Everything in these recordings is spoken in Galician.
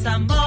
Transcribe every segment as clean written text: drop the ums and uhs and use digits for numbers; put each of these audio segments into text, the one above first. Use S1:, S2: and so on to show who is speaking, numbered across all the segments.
S1: Samboy.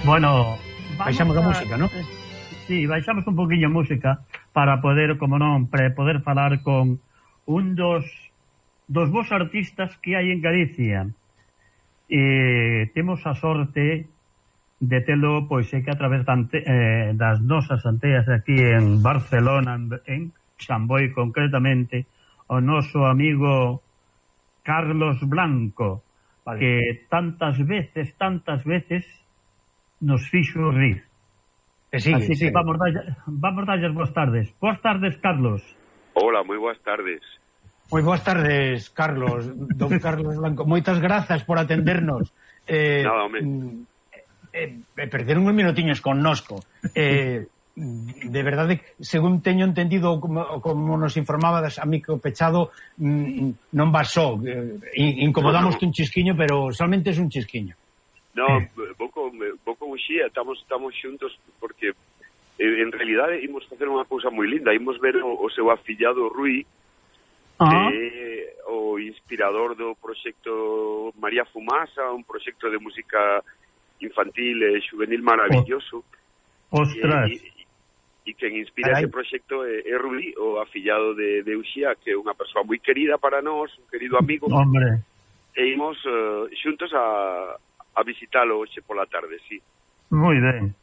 S2: Bueno,
S3: baixamos a música, ¿no?
S2: Sí, baixamos un poquinho música para poder, como non, poder falar con un dos vos artistas que hai en Galicia. Temos a sorte de telo, pois é que a través das nosas anteas aquí en Barcelona, en Samboy concretamente, o noso amigo Carlos Blanco, vale, que tantas veces nos fixo rir.
S3: Sí,
S2: así que vamos darles boas tardes. Boas tardes, Carlos.
S4: Hola, moi boas tardes.
S3: Moi boas tardes, Carlos, don Carlos Blanco. Moitas grazas por atendernos.
S4: Nada, home.
S3: Perderon uns minutiños connosco. De verdade, según teño entendido, como nos informaba amigo Pechado, non vas só. Incomodamos un chisquiño, pero solamente é un chisquiño.
S4: No, vou con Uxía, estamos xuntos porque en realidade imos facer unha cousa moi linda, imos ver o seu afillado Rui, que é o inspirador do proxecto María Fumasa, un proxecto de música infantil e juvenil maravilloso.
S2: Ostras.
S4: E quen inspira ese proxecto é Rui, o afillado de Uxía, que é unha persoa moi querida para nós, un querido amigo.
S2: Hombre.
S4: E imos xuntos a visitalo hoxe pola tarde, sí.
S2: Moi ben.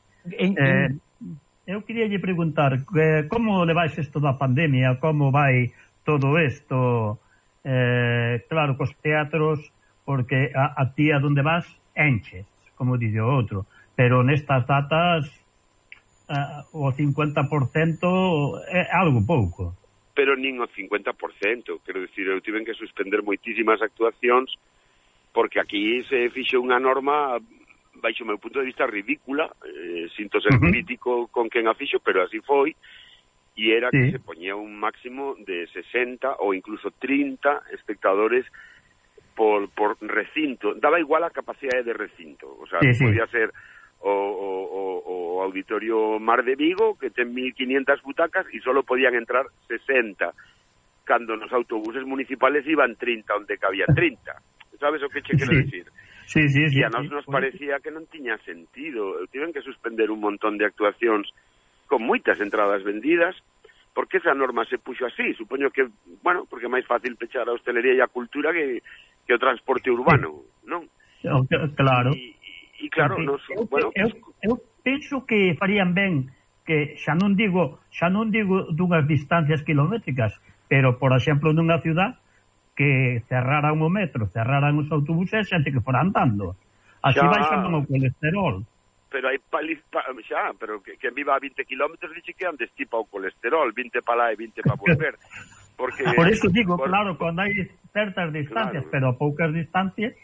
S2: Eu queria lle preguntar como levais isto da pandemia, como vai todo isto, claro, cos teatros, porque a ti a donde vas enches, como dice o outro, pero nestas datas o 50% é algo pouco.
S4: Pero nin o 50%, quero dicir, eu tiven que suspender moitísimas actuacións porque aquí se fixo unha norma baixo o meu punto de vista ridícula, sinto ser crítico con quen a fixo, pero así foi, e era que se poñía un máximo de 60 ou incluso 30 espectadores por recinto. Daba igual a capacidade de recinto, o sea, podía ser o Auditorio Mar de Vigo, que ten 1.500 butacas e solo podían entrar 60, cando nos autobuses municipales iban 30 onde cabía 30. Sabes o que che quero dicir?
S2: Sí.
S4: E a nos parecía que non tiña sentido. Tiven que suspender un montón de actuacións con moitas entradas vendidas, porque esa norma se puxo así. Supoño que, bueno, porque é máis fácil pechar a hostelería e a cultura que o transporte urbano, non?
S2: Claro.
S4: E claro, nos, bueno...
S2: Eu penso que farían ben que xa non digo dunhas distancias kilométricas, pero, por exemplo, nunha ciudad que cerraran o metro, cerraran os autobuses, xente que fora andando. Así baixan o colesterol.
S4: Pero hai pero que viva a 20 kilómetros dixe que antes tipa o colesterol, 20 para lá e 20 para volver. Porque
S2: por eso digo, claro, cando hai certas distancias, pero a poucas distancias...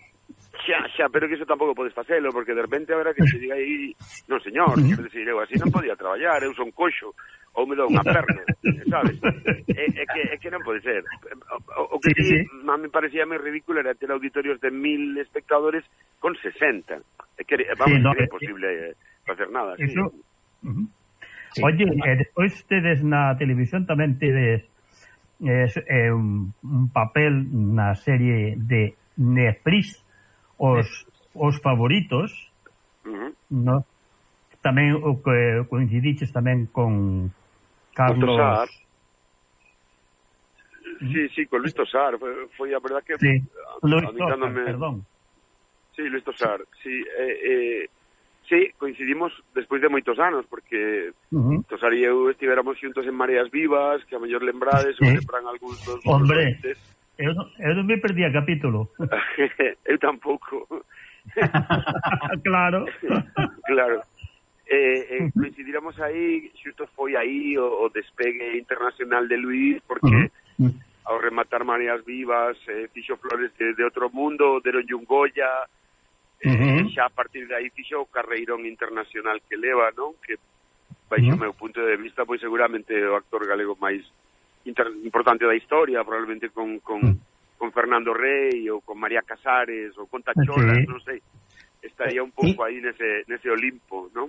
S4: pero que iso tampouco podes facelo, porque de repente haberá que se diga aí, non señor, quero dicir, eu así non podía traballar, eu son coxo, ou me dou unha perna, sabes? É que non pode ser. O que sí, a me parecía moi ridículo era ter auditorios de 1.000 espectadores con 60. É que, vamos, é imposible facer nada.
S2: Eso... Sí. Oye, despois tedes na televisión tamén tedes un papel na serie de Netflix, os favoritos, no? Tamén o que coincidiches tamén con Carlos...
S4: Sí, con Luis Tosar. Foi a verdad que...
S2: Sí, Luis Tosar, perdón.
S4: Sí, Luis Tosar. Sí, coincidimos despois de moitos anos, porque Tosar e eu estivéramos xuntos en Mareas Vivas, que a mellor lembrades, ou lembran algúns dos...
S2: Hombre, eu non me perdí a capítulo.
S4: Eu tampouco.
S2: Claro.
S4: Coincidiramos aí, xusto foi aí o despegue internacional de Luis, porque ao rematar Mareas Vivas fixo Flores de Outro Mundo, deronlle un Goya, xa a partir de aí fixo o carreirón internacional que leva, non? Que baixo o meu punto de vista, pois seguramente o actor galego máis importante da historia, probablemente con Fernando Rey ou con María Casares ou con Tacholas, non sei, estaría un pouco aí nese Olimpo, non?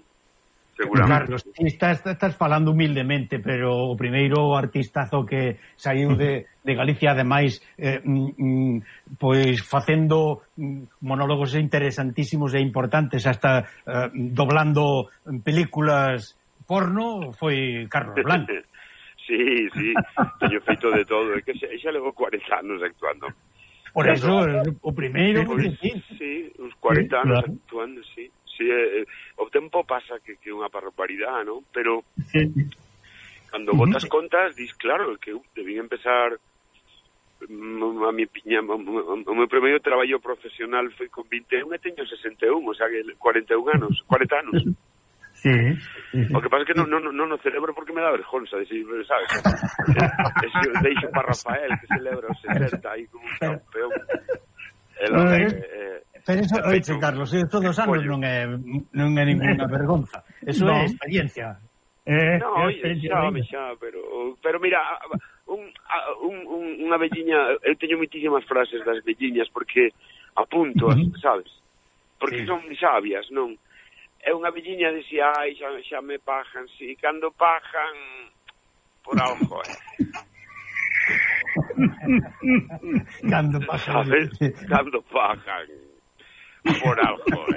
S4: Seguramente.
S3: Carlos, estás falando humildemente, pero o primeiro artistazo que saiu de Galicia, ademais, pois facendo monólogos interesantísimos e importantes, hasta doblando películas porno, foi Carlos Blanco.
S4: Sí, teño feito de todo, é que xa levou 40 anos actuando.
S3: Por eso, o primeiro...
S4: Sí, uns 40 anos actuando, sí. O tempo pasa que é unha barbaridade, non? Pero cando botas contas, dis, claro, que eu debín empezar o meu primeiro traballo profesional foi con 21 e teño 61, o sea, 40 anos.
S2: Sí.
S4: O que pasa é que non o celebro porque me dá vergonza, decir, sabes? Deixo para Rafael, que celebra os 60 aí como un campeón.
S3: Pero eso, oiche, Carlos, todos os anos non é ninguna vergonza. Eso é experiencia.
S4: Xa, pero mira, unha velliña, eu teño moitísimas frases das velliñas porque apunto, sabes? porque son sabias, non? É unha velliña dicía, ai, xa me pajan, si, cando pajan por algo,
S3: Cando pajan.
S4: ¿Sabes? Cando pajan por algo,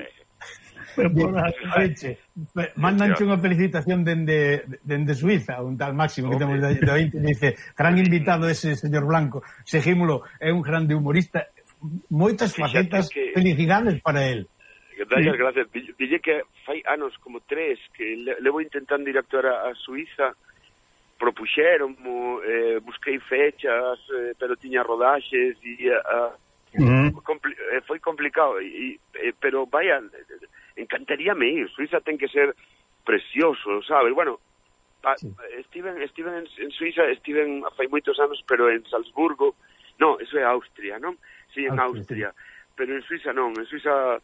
S3: Mandanche unha felicitación dende Suiza, un tal Máximo que temos de ointe, dice, gran invitado ese señor Blanco, seguímolo, é un grande humorista, moitas facetas, felicidades para él.
S4: Dalle gracias. Dille que fai anos como 3 que levo intentando ir a actuar a Suiza, propuxeron, busquei fechas, pero tiña rodaxes e foi complicado, pero vaya, encantaríame ir. Suiza ten que ser precioso, sabes? Bueno, estiven en Suiza, estiven fai moitos anos, pero en Salzburgo, no, eso é Austria, non? Sí, en Austria, pero en Suiza non, en Suiza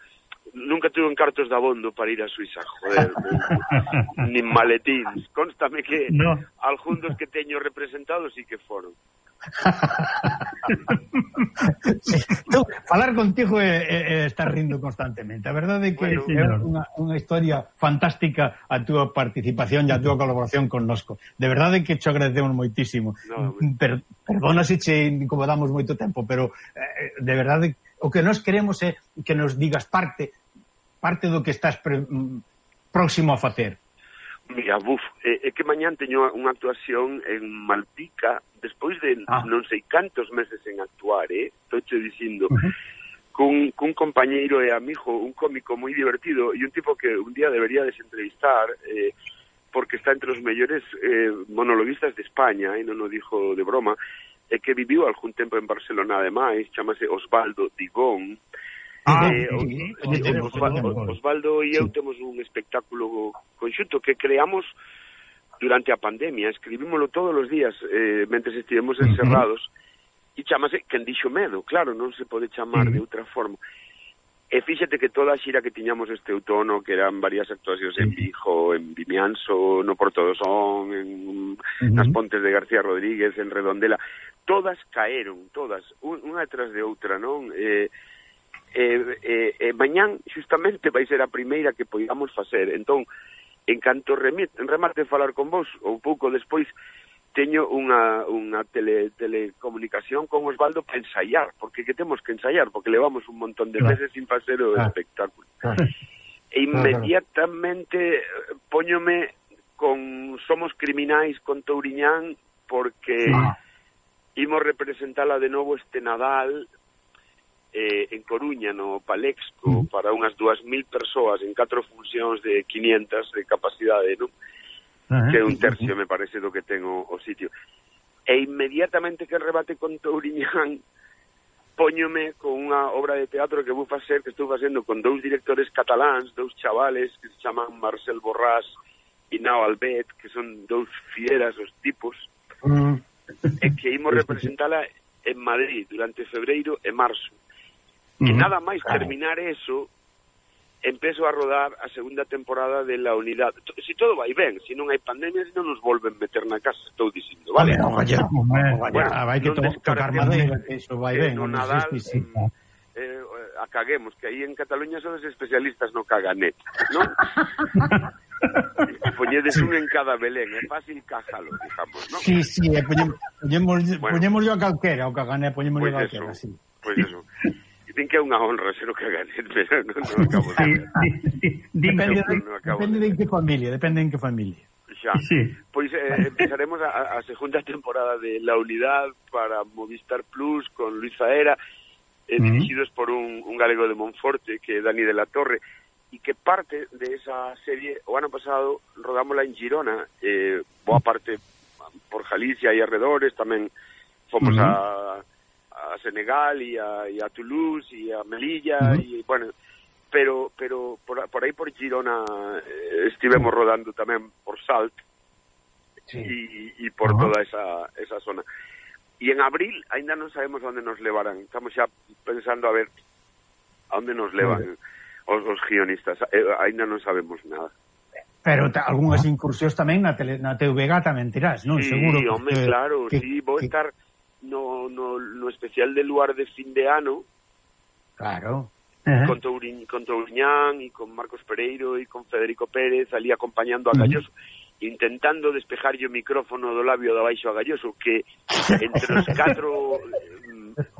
S4: nunca tuve cartos de abondo para ir a Suiza, joder, nin maletins. Constame que algúns que teño representados sí que foron.
S3: Sí, falar contigo é estar rindo constantemente. A verdade é que é unha historia fantástica a túa participación e a túa colaboración connosco. De verdade que te agradecemos moitísimo. Perdona se che incomodamos moito tempo, pero de verdade o que nós queremos é que nos digas parte do que estás próximo a facer.
S4: Mira, é que mañán teño unha actuación en Malpica, despois de non sei cantos meses en actuar, estou che dicindo, cun compañeiro e amigo, un cómico moi divertido e un tipo que un día debería desentrevistar, porque está entre os mellores monologuistas de España, e non o dixo de broma, e que viviu algún tempo en Barcelona ademais, chamase Osvaldo Digón. Osvaldo e eu temos un espectáculo conxunto que creamos durante a pandemia, escribímolo todos os días mentre estivemos encerrados, e chamase Quen dixo medo, claro, non se pode chamar de outra forma. E fíxate que toda a xira que tiñamos este outono, que eran varias actuacións en Vigo, en Vimianzo, no Porto do Son, nas Pontes de García Rodríguez, en Redondela, todas caeron, todas, unha detrás de outra, non? Mañán, xustamente, vai ser a primeira que poidamos facer. Entón, en canto remate falar con vos, ou pouco despois, teño unha telecomunicación con Osvaldo para ensaiar, porque que temos que ensaiar, porque levamos un montón de meses sin facer o espectáculo. E inmediatamente póñome con Somos Criminais con Touriñán, porque imos representala de novo este Nadal en Coruña, no Palexco, para unhas 2.000 persoas en 4 funcións de 500 de capacidade, non? Que é un tercio, me parece, do que ten o sitio. E inmediatamente que rebate con Touriñán, póñome con unha obra de teatro que vou facer, que estou facendo con 2 directores cataláns, 2 chavales que se chaman Marcel Borràs e Nao Albet, que son 2 fieras os tipos, e que imos representala en Madrid durante febreiro e marzo. E nada máis terminar eso, empezo a rodar a segunda temporada de La Unidad. Si todo vai ben, se non hai pandemia, se non nos volven meter na casa, estou dicindo, vale?
S3: Vai que tocar madeira, eso vai ben.
S4: No Nadal, a caguemos, que aí en Cataluña son os especialistas no caganet, non? Poñedes un en cada Belén, é fácil cájalo, digamos, non?
S3: Sí, poñemos yo a calquera, o caganet, poñemos yo a calquera, sí.
S4: Pois eso. Din que é unha honra ser o caganet, pero non acabo de ver.
S3: Depende de en que familia.
S4: Xa. Pois empezaremos a segunda temporada de La Unidad para Movistar Plus con Luis Zaera, dirixidos por un galego de Monforte, que é Dani de la Torre, e que parte de esa serie, o ano pasado rodámola en Girona, boa parte por Galicia e arredores, tamén fomos a Senegal e a Toulouse e a Melilla e bueno, pero por aí por Girona estivemos rodando tamén por Salt e por toda esa zona. E en abril ainda non sabemos onde nos levarán, estamos xa pensando a ver a onde nos levan os guionistas, ainda non sabemos nada.
S3: Pero algunhas incursións tamén na TVG tamén tirás, non?
S4: Sí,
S3: seguro.
S4: Home, claro, sí, vou estar no especial de Luar de fin de ano.
S3: Claro.
S4: con Touriñán e con Marcos Pereiro e con Federico Pérez ali acompañando a Galloso, intentando despejar o micrófono do labio de abaixo a Galloso, que entre os 4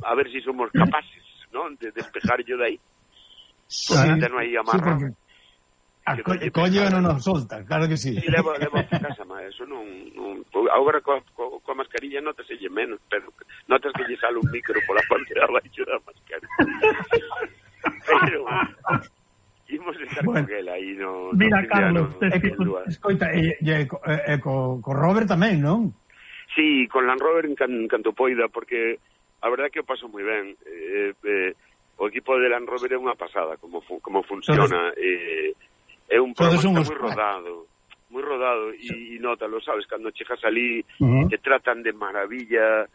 S4: a ver si somos capaces, ¿no?, de despejar yo de aí, porque non hai amarra.
S3: Coño non nos solta, claro que sí.
S4: E levo a casa, mas eso non agora coa mascarilla notase menos, pero notas que lle sale un micro pola parte de abaixo da mascarilla. Pero imos estar con él aí no...
S2: Mira, Carlos,
S3: escoita, co Robert tamén, non?
S4: Sí, con Land Rover en canto poida, porque a verdade que o paso moi ben. O equipo de Land Rover é unha pasada como funciona. É un programa moi rodado e nótalo, sabes, cando chegas ali te tratan de maravilla.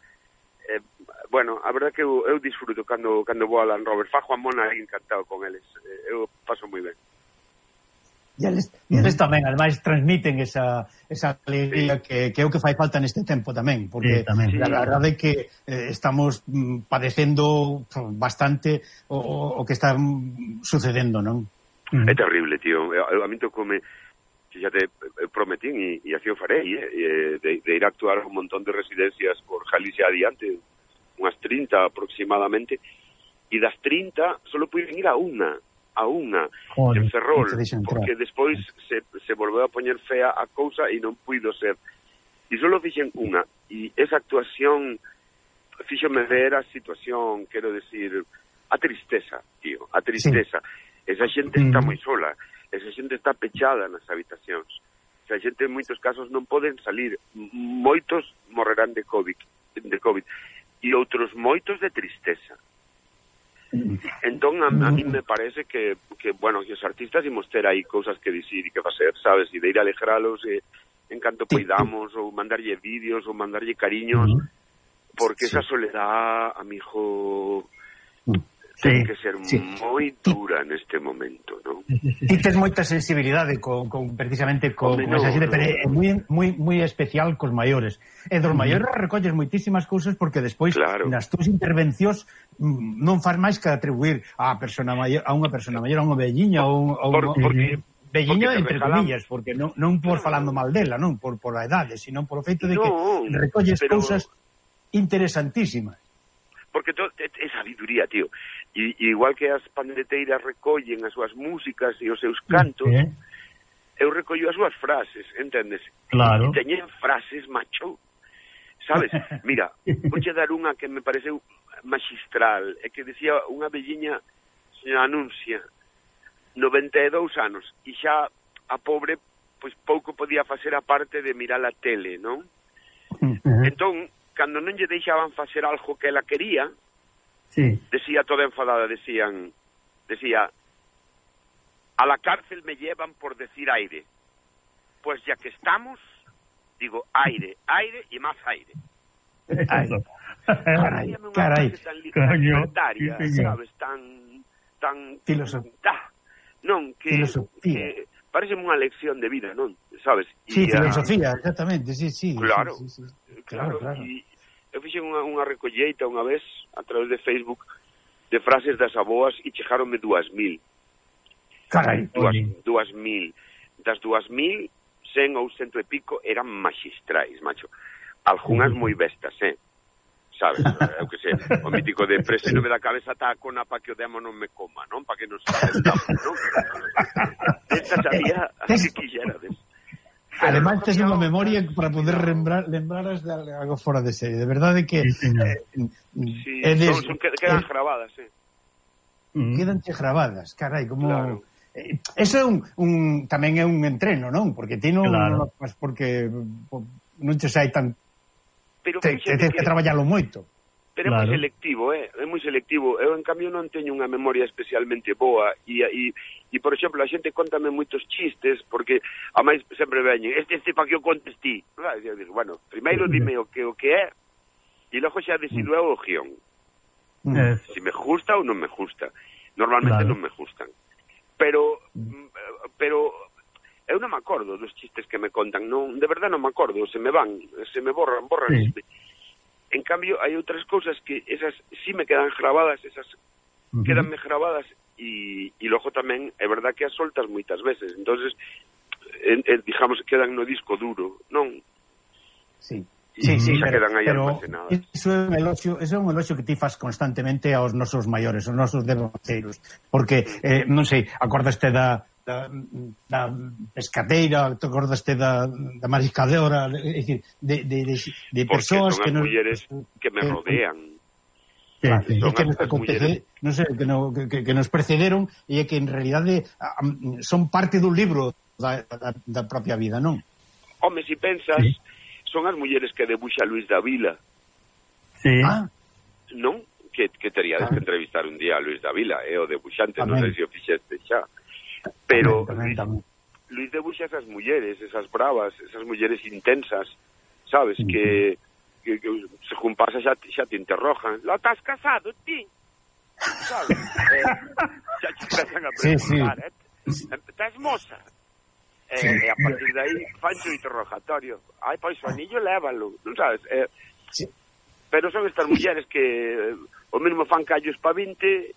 S4: Bueno, a verdade que eu disfruto cando vou a Land Rover. Fa Juan Mona encantado con eles. Eu paso moi ben.
S3: E eles tamén, ademais, transmiten esa alegría que é o que fai falta neste tempo tamén, porque a verdade é que estamos padecendo bastante o que está sucedendo, non?
S4: É terrible, tío. A mí tocoume, xa te prometín e así o farei, de ir a actuar un montón de residencias por Galicia adiante, unhas 30 aproximadamente, e das 30 solo puiden ir a unha en Ferrol, porque despois se volveu a poñer fea a cousa e non puido ser. E solo fixen unha, e esa actuación fíxome ver a situación, quero decir, a tristeza, tío, a tristeza. Sí. Esa xente está moi sola, esa xente está pechada nas habitacións, esa xente en moitos casos non poden salir, moitos morrerán de COVID, e outros moitos de tristeza. Entón, a mí me parece que bueno, que os artistas imos ter aí cousas que dicir e que facer, sabes, e de ir a alegralos en canto poidamos, ou mandarlle vídeos, ou mandarlle cariños, porque esa soledad, amigo... ten que ser moi dura neste momento, non?
S3: Ti tes moita sensibilidade precisamente con esa xente, pero é moi especial cos maiores. E dos maiores recolles moitísimas cousas porque despois nas túas intervencións non faz máis que atribuir a unha persona maior, a unha velliña ou velliña entre comillas, porque non por falando mal dela, non por a edade, sino por o feito de que recolles cousas interesantísimas.
S4: Porque é sabiduría, tío. E igual que as pandereteiras recollen as súas músicas e os seus cantos, eu recollo as súas frases, entendes?
S2: Claro.
S4: E teñen frases, macho, sabes? Mira, vouche dar unha que me pareceu magistral, é que decía unha velliña, señora Anuncia, 92 anos, e xa a pobre, pois pouco podía facer a parte de mirar a tele, non? Entón, cando non lle deixaban facer algo que ela quería, decía toda enfadada, decía, a la cárcel me llevan por decir aire. Pues ya que estamos, digo aire, aire y más aire.
S3: Carai.
S4: Tan libertaria, sabes, tan
S3: filosofía.
S4: Non, que parece unha lección de vida, non? Sabes?
S3: Sí, filosofía, exactamente, sí.
S4: Claro.
S3: Claro.
S4: E eu fixen unha recolleita unha vez a través de Facebook de frases das aboas e chegaronme 2.000.
S3: Carai.
S4: 2.000. Das 2.000, 100 ou 100 e pico eran magistrais, macho. Algunhas moi bestas, sabes? Eu que sei, o mítico de presa non me da cabeza tacona pa que o demo non me coma, non? Pa que nos sentamos, non? Esta sabía así que quixerades.
S3: Ademais, tes unha memoria para poder lembraras de algo fora de serie. De verdade que...
S4: quedan gravadas,
S3: Quedanche gravadas, carai, como...
S4: Claro.
S3: Eso é tamén é un entreno, non? Porque ti non porque non te sai tan... Tens que traballalo moito.
S4: Pero é moi selectivo, é moi selectivo. Eu, en cambio, non teño unha memoria especialmente boa e por exemplo, a xente contame moitos chistes porque, a máis, sempre veñen este pa que o contes ti. Eu digo, bueno, primeiro dime o que é e logo xa decido eu o guión. Si me gusta ou non me gusta. Normalmente non me gustan. Pero eu non me acordo dos chistes que me contan, non, de verdade non me acordo, se me borran. En cambio, hai outras cousas que esas sí me quedan gravadas, esas quedanme gravadas e logo tamén é verdad que as soltas moitas veces, entonces digamos que quedan no disco duro, non?
S3: Sí.
S4: Sí,
S3: pero iso é un elogio que ti fas constantemente aos nosos maiores, aos nosos devanceiros, porque, non sei, acordaste da pescadeira, te acordaste da mariscadora, é dicir, de persoas que
S4: son as mulleres que me rodean.
S3: Claro, sí. Que nos acontece, non sei, que nos precederon e que en realidade son parte dun libro da propia vida, non?
S4: Home, se pensas, son as mulleres que debuxa Luis Davila.
S2: Sí.
S4: Non? Que teríades que entrevistar un día a Luis Davila, o debuxante, non sei se o fixeste xa. Pero Luis debuxa esas mulleres, esas bravas, esas mulleres intensas, sabes, que según pasa xa te interrojan. Lo estás casado, ti? Sabes? Xa te empezan a preguntar, estás moza? E a partir de aí fancho interrogatorio. Ai, pois o anillo lévalo, non sabes? Pero son estas mulleres que o mesmo fan callos pa 20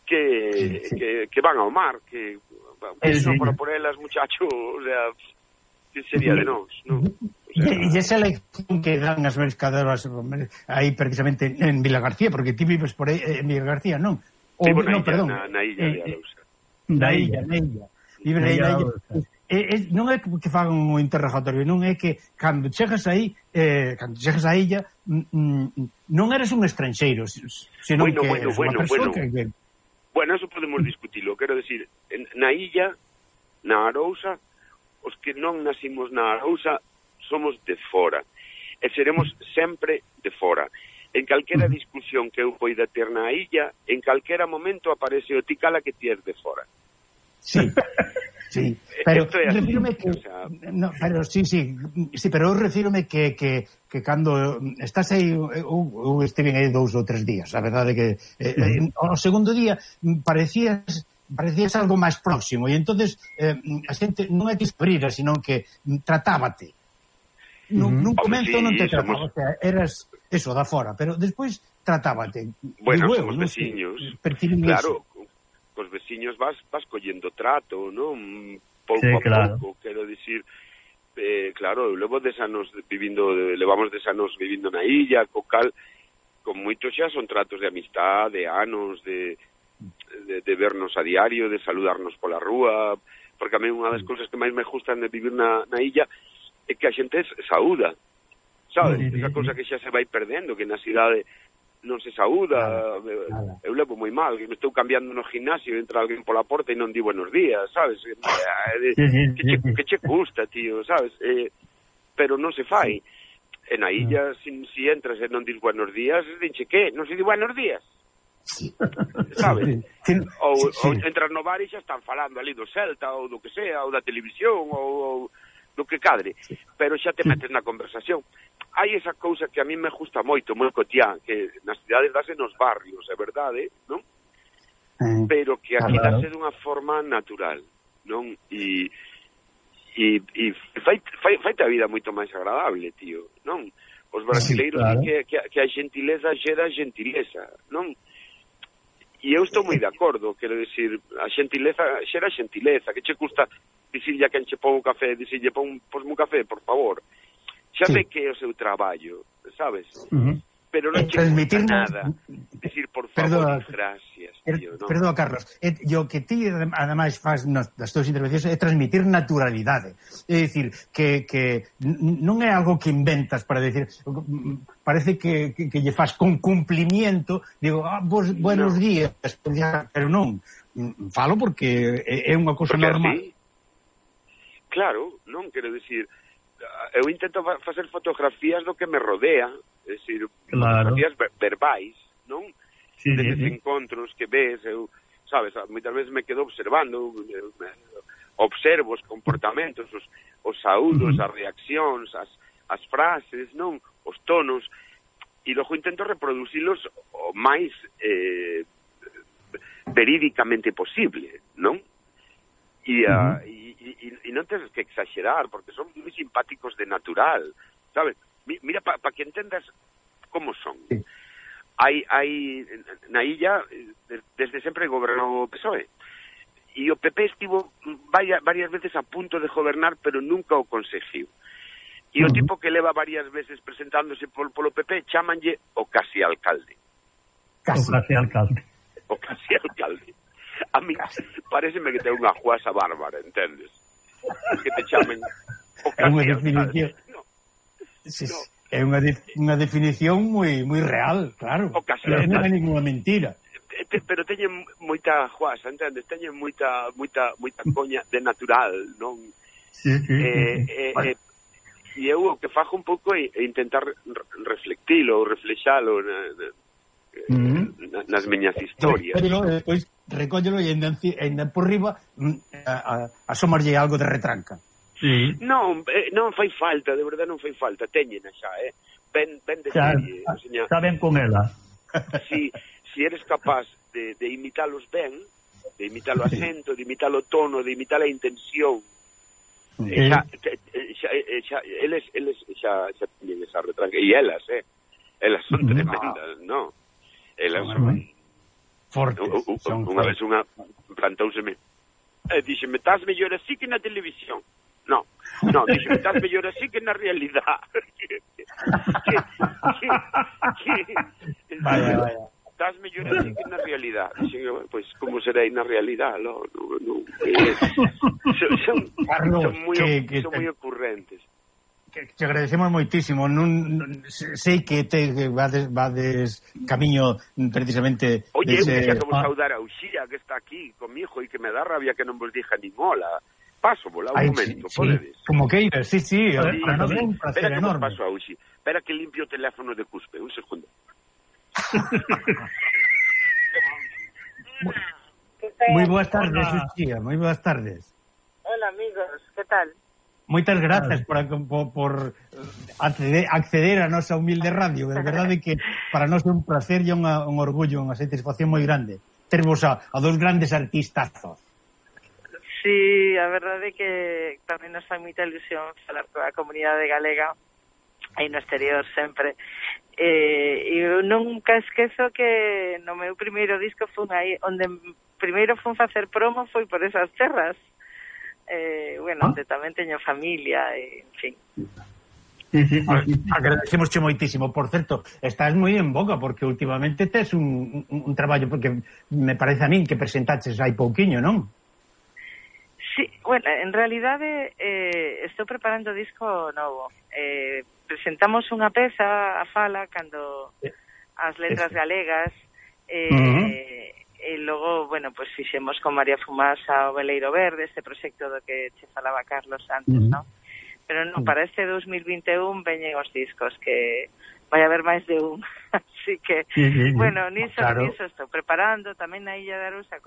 S4: que van ao mar, que non para por elas, muchacho, o sea, que sería de nós, non?
S3: E esa lección que dan as mercadoras aí precisamente en Vila García, porque ti vives por aí en Vila García, non?
S4: Vivo na illa de Arousa.
S3: Na illa. Vive na illa. Non é que fagan un interrogatorio, non é que cando chegas aí, cando chegas á illa, non eres un estranxeiro, senón que eres unha persoa que...
S4: Bueno, eso podemos discutilo, quero decir, na illa, na Arousa, os que non nacimos na Arousa somos de fora, e seremos sempre de fora. En calquera discusión que eu poida ter na illa, en calquera momento aparece o ticala que ti és de fora.
S3: Sí. Sí, pero refírome que pero pero eu refírome que cando estás aí eu estive aí 2 ou 3 días, a verdade que ao segundo día parecías algo máis próximo e entonces a xente non é que esprira, sino que tratábate. Nun comento non te trataba, o sea, eras eso, da fora, pero despois tratábate.
S4: Bueno, somos veciños, claro. Os veciños vas collendo trato, non? Pouco a pouco, quero dicir, claro, levamos 10 anos vivindo na illa, co cal, con moitos xa son tratos de amistad, de anos, de vernos a diario, de saludarnos pola rúa, porque a mí unha das cousas que máis me gustan de vivir na illa é que a xente saúda, sabes? Esa cousa que xa se vai perdendo, que na cidade non se saúda, eu levo moi mal, que me estou cambiando no gimnasio, entra alguén pola porta e non di buenos días, sabes? Que che custa, tío, sabes? Pero non se fai. En a illa, si entras e non dis buenos días, dinche que? Non se di buenos días? Sabes? Ou entras no bar e xa están falando ali do Celta, ou do que sea, ou da televisión, ou do que cadre, pero xa te metes na conversación. Hai esa cousa que a mí me gusta moito, moi cotiá, que nas cidades dase nos barrios, é verdade, non? Pero que aquí dase dunha forma natural, non? E faite a vida moito máis agradable, tío, non? Os brasileiros que a gentileza xera gentileza, non? E eu estou moi de acordo, quero dicir, a gentileza xera gentileza, que che custa dicirlle a quen che pon un café, dicirlle posme un café, por favor. Xa ve que é o seu traballo, sabes? Pero non che custa nada dicir por favor e gracias, tío, non?
S3: Perdón, Carlos, o que ti ademais faz nas túas intervencións é transmitir naturalidade, é dicir, que non é algo que inventas para decir, parece que lle faz con cumplimiento, digo, buenos días, pero non, falo porque é unha cousa normal.
S4: Claro, non, quero dicir, eu intento facer fotografías do que me rodea, é dicir, fotografías verbais, non? Destes encontros que ves, eu, sabes, moitas veces me quedo observando, observo os comportamentos, os saúdos, as reaccións, as frases, non? Os tonos, e logo intento reproducilos o máis verídicamente posible, non? E non tens que exagerar, porque son moi simpáticos de natural, sabes? Mira, para que entendas como son. hai na illa desde sempre gobernou o PSOE. E o PP estivo varias veces a punto de gobernar, pero nunca o conseguiu. E o tipo que leva varias veces presentándose polo PP chámanlle o casi alcalde. O casi alcalde. A mí pareceme que ten unha juasa bárbara, entendes? Que te chamen o casi alcalde.
S3: É unha definición moi real, claro. Non é ninguna mentira.
S4: Pero teñen moita juasa, entendes? Teñen moita coña de natural, non?
S2: Sí.
S4: E eu o que fago un pouco é intentar reflectilo ou reflexalo nas miñas historias.
S3: Pero depois recóllelo e ainda por riba asomarlle algo de retranca.
S2: Sí.
S4: Non fai falta, de verdade non fai falta, teñena xa, ben de serie.
S2: Saben con ela.
S4: Si eres capaz de imitalos ben, de imitar o acento, de imitar o tono, de imitar a intención, eles xa teñen esa retranca. E elas son tremendas, non? Elas son
S3: fortes.
S4: Unha vez unha plantouseme díxeme, estás mellor así que na televisión. No, díxeme, estás mellor así que na realidade.
S3: Vaya.
S4: Estás mellor así que na realidade. Pois, como serei na realidade? Son moi ocurrentes.
S3: Te agradecemos moitísimo. Sei que vades camiño precisamente.
S4: Oye, eu quero vos saudar a Uxía, que está aquí comigo e que me dá rabia que non vos dixa nin hola. Paso, volá un momento, podedes?
S3: Como queiras, sí. Para nós é un placer enorme.
S4: Paso a Uxía. Espera que limpio o teléfono de Cuspe, un segundo.
S3: Moi boas tardes, Uxía, moi boas tardes.
S1: Hola, amigos, que tal?
S3: Moitas grazas por acceder a nosa humilde radio. De verdade que para nós é un placer e un orgullo, unha satisfacción moi grande tervos a dos grandes artistazos.
S1: Sí, a verdade é que tamén nos fai moita ilusión falar coa comunidade galega aí no exterior sempre. Eu nunca esquezo que no meu primeiro disco fun aí, onde primeiro fun facer promo foi por esas terras. Onde tamén teño familia, en fin.
S3: Agradecemosche moitísimo. Por certo, estás moi en boga porque últimamente tes un traballo, porque me parece a min que presentaches hai pouquiño, non?
S1: Sí, en realidade estou preparando disco novo. Presentamos unha peza a fala cando as letras galegas e logo, pues fixemos con María Fumasa o Veleiro Verde, este proxecto do que che falaba Carlos antes, non? Pero non, para este 2021 veñen os discos, que vai haber máis de un. Así que, niso estou preparando tamén na Illa de Arousa,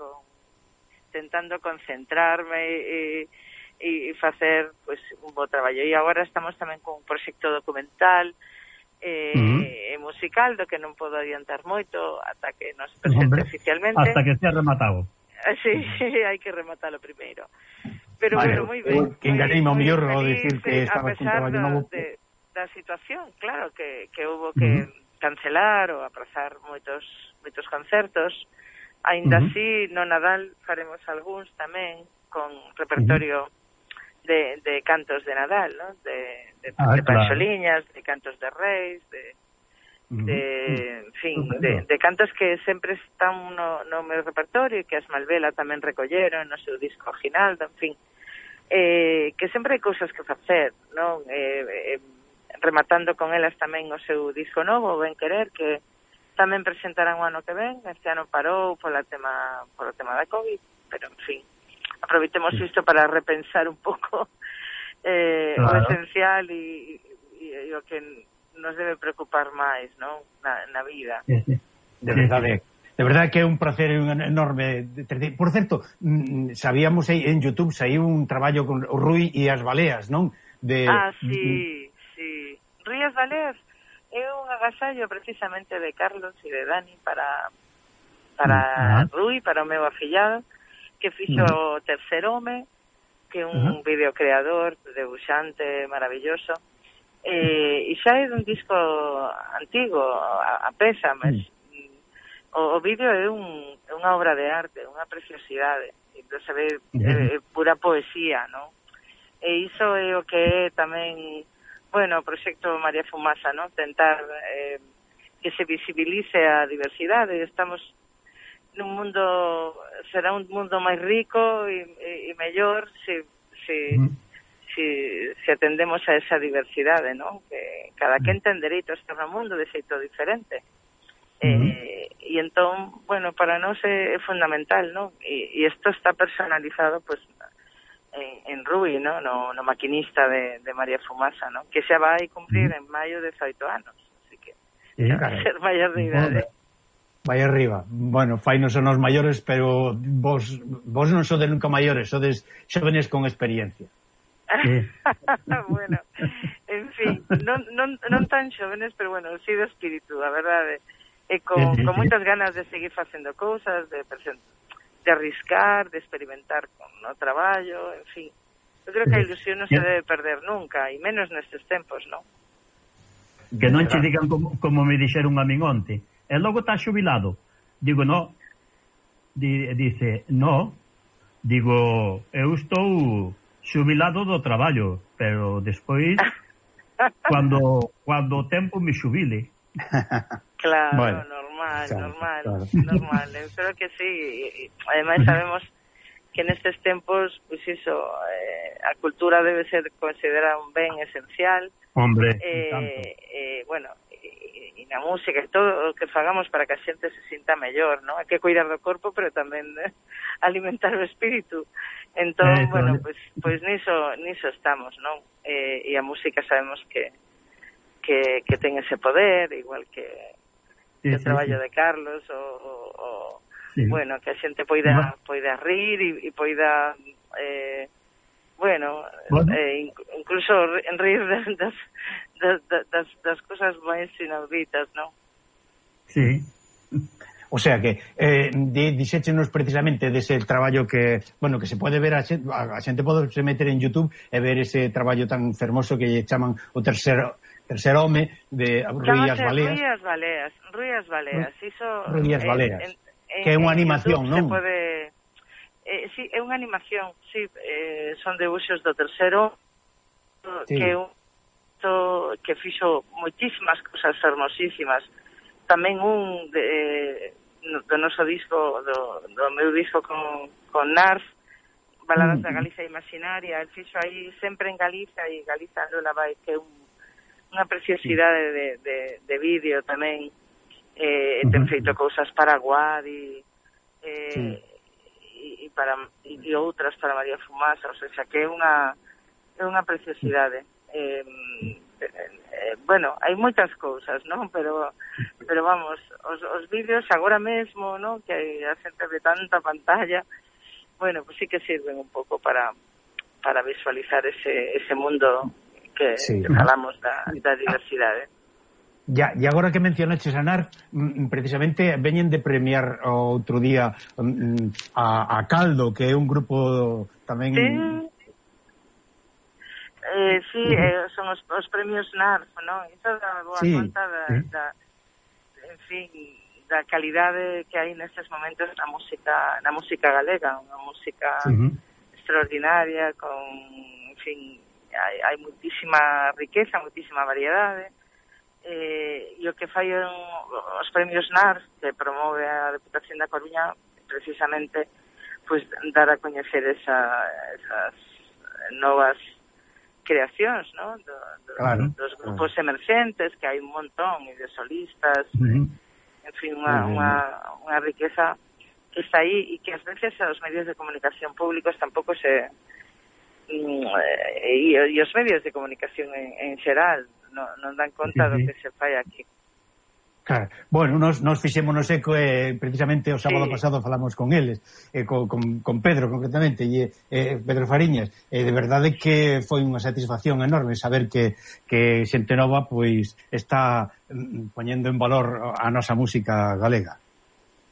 S1: tentando concentrarme e facer un bo traballo. E agora estamos tamén con un proxecto documental musical, do que non podo adiantar moito ata que nos presente oficialmente.
S2: Hasta que sea rematado.
S1: Sí, hai que rematalo primeiro. Pero moi ben.
S3: Que enganei o mellor ao dicir que estaba con traballo novo.
S1: Da situación, claro, que houve que cancelar ou aprazar moitos concertos. Ainda así, no Nadal faremos algúns tamén con repertorio de cantos de Nadal, ¿no? De Panxoliñas, de cantos de Reis, de cantos que sempre están no meu repertorio e que as Malvela tamén recolleron no seu disco original, en fin, que sempre hai cousas que facer, non? Rematando con elas tamén o seu disco novo, Ben Querer, que tamén presentarán o ano que ven. Este ano parou polo tema da COVID, pero en fin, aproveitemos isto para repensar un pouco o esencial e o que nos debe preocupar máis, non? Na vida.
S3: De verdade que é un placer enorme. Por certo, sabíamos en YouTube saiu un traballo con o Rui e as Baleas, non?
S1: Sí. Rui e as Baleas é un agasallo precisamente de Carlos e de Dani para Rui, para o meu afillado, que fixo o Tercer Home, que é un videocreador, debuxante maravilloso, e xa é dun disco antigo a peza, mas o vídeo é unha obra de arte, unha preciosidade, entón se ve pura poesía, non? E iso é o que é tamén, bueno, o proxecto María Fumasa, non? Tentar que se visibilice a diversidade. Estamos nun mundo, será un mundo máis rico e mellor se atendemos a esa diversidade, non? Que cada quen ten dereito a estar no mundo de xeito diferente. E entón, bueno, para nós é fundamental, non? E isto está personalizado, pues, en Rui, non? No maquinista de María Fumasa, non? Que xa vai cumprir en maio 18 anos, así que xa vai ser maior de idade.
S3: Vai arriba. Bueno, fainos son os maiores, pero vos non sodes nunca maiores, sodes xóvenes con experiencia.
S1: Bueno, en fin, non tan xóvenes, pero bueno, sí de espírito, a verdade. E con moitas ganas de seguir facendo cousas, de arriscar, de experimentar con o traballo, en fin. Eu creo que a ilusión non se debe perder nunca, e menos nestes tempos, non?
S2: Que non che digan como me dixeron a min onte. E logo está xubilado. Digo, no. Dice, no. Digo, eu estou xubilado do traballo, pero despois cando o tempo me xubile.
S1: Claro,
S3: bueno,
S1: normal. Eu creo que sí. Ademais sabemos que nestes tempos, pois iso, a cultura debe ser considerada un ben esencial.
S2: Hombre,
S1: bueno, e na música e todo o que fagamos para que a xente se sinta mellor, non? Hai que cuidar do corpo, pero tamén alimentar o espírito. Entón, bueno, pois niso estamos, non? E a música sabemos que ten ese poder, igual que o traballo de Carlos, bueno, que a xente poida rir e poida bueno, incluso rir das cosas máis inauditas, non?
S2: Sí.
S3: O sea que dixéchenos precisamente dese traballo que, bueno, que se pode ver a xente pode se meter en YouTube e ver ese traballo tan fermoso que lle chaman o tercer home de Rui as Baleas.
S1: Rui as Baleas.
S3: Rui as Baleas. Que é unha animación, non?
S1: Sí, é unha animación, sí, son debuxos do tercero, sí. que fixo moitísimas cousas hermosísimas. Tamén do noso disco, do meu disco con Narf, Baladas da Galicia Imaginaria, el fixo aí sempre en Galicia, e Galiza Lola vai, que é unha preciosidade de vídeo tamén. Ten feito cousas para Guadi e outras para María Fumasa, o sea, que é unha preciosidade. Bueno, hai moitas cousas, non? Pero vamos, os vídeos agora mesmo, non? Que a xente ve tanta pantalla, bueno, pues sí que sirven un pouco para visualizar ese mundo que falamos da diversidade.
S3: E agora que mencionaches a Narf, precisamente veñen de premiar outro día a Caldo, que é un grupo tamén...
S1: Sí, son os premios Narf, non? Iso dá boa conta en fin, da calidade que hai nestes momentos na música galega, unha música extraordinaria, con, en fin, hai moitísima riqueza, moitísima variedade. E o que fai os premios NARS, que promove a Deputación da Coruña, precisamente pues dar a coñecer esas novas creacións, ¿no? Dos grupos emerxentes, que hai un montón, e de solistas, en fin, unha riqueza que está aí, e que ás veces os medios de comunicación públicos tampouco se... e os medios de comunicación en xeral non dan conta do que se fai aquí.
S3: Claro. Bueno, nos fixémonos eco precisamente o sábado pasado falamos con eles, con Pedro concretamente, e Pedro Fariñas, e de verdade que foi unha satisfacción enorme saber que xente nova pois está poñendo en valor a nosa música galega.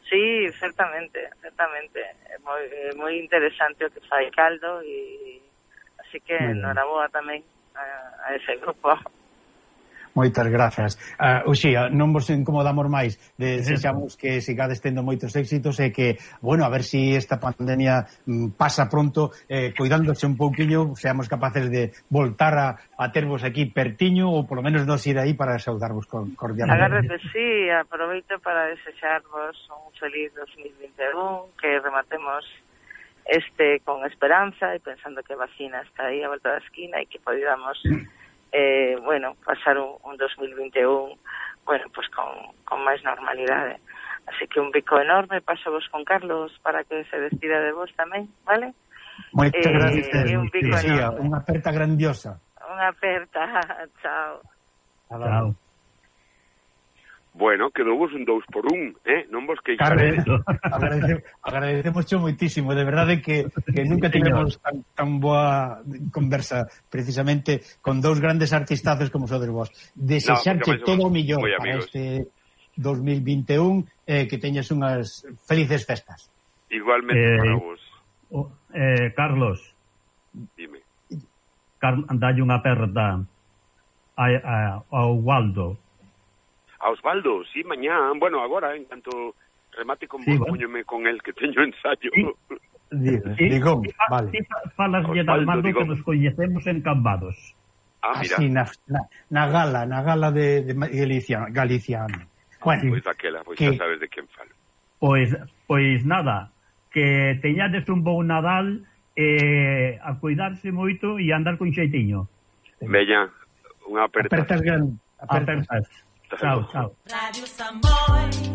S1: Sí, certamente. É moi interesante o que fai Caldo, e así que enhoraboa tamén a ese grupo.
S3: Moitas grazas. Uxía, non vos incomodamos máis, desexamos que sigades tendo moitos éxitos e que, bueno, a ver si esta pandemia pasa pronto, cuidándose un pouquiño, seamos capaces de voltar a tervos aquí pertiño, ou polo menos nos ir aí para saudarvos cordialmente.
S1: Agarro que sí, aproveito para desexarvos un feliz 2021, que rematemos con esperanza e pensando que a vacina está aí a volta da esquina e que podamos pasar un 2021 pues con máis normalidade. Así que un bico enorme, paso vos con Carlos para que se despida de vos tamén, vale?
S3: Moitas gracias.
S1: Un bico enorme.
S3: Unha aperta grandiosa.
S1: Unha aperta, chao.
S2: Chao.
S4: Bueno, quedou vos un 2x1, non vos queixaredes.
S3: Agradecemos moitísimo, de verdade que nunca tivemos tan boa conversa precisamente con dous grandes artistazos como sodes vos. Desexarche todo o millón para este 2021, que teñas unhas felices festas.
S4: Igualmente para vos.
S2: Carlos,
S4: dime.
S2: Dalle unha aperta ao Waldo.
S4: A Osvaldo, sí, mañá, bueno, agora, en canto remate con vos, póñome con el, que teño ensayo.
S3: Digo, vale.
S2: Falas de Dalmando que nos coñecemos en Cambados.
S4: Mira.
S3: Así, na gala de Galiciano. Bueno,
S4: pois daquela, pois xa sabes de quen falo.
S2: Pois nada, que teñades un bon Nadal, a cuidarse moito e andar con xeitiño.
S4: Veña, unha aperta.
S3: Apertas.
S2: Chao, chao.
S5: Radio Samboy.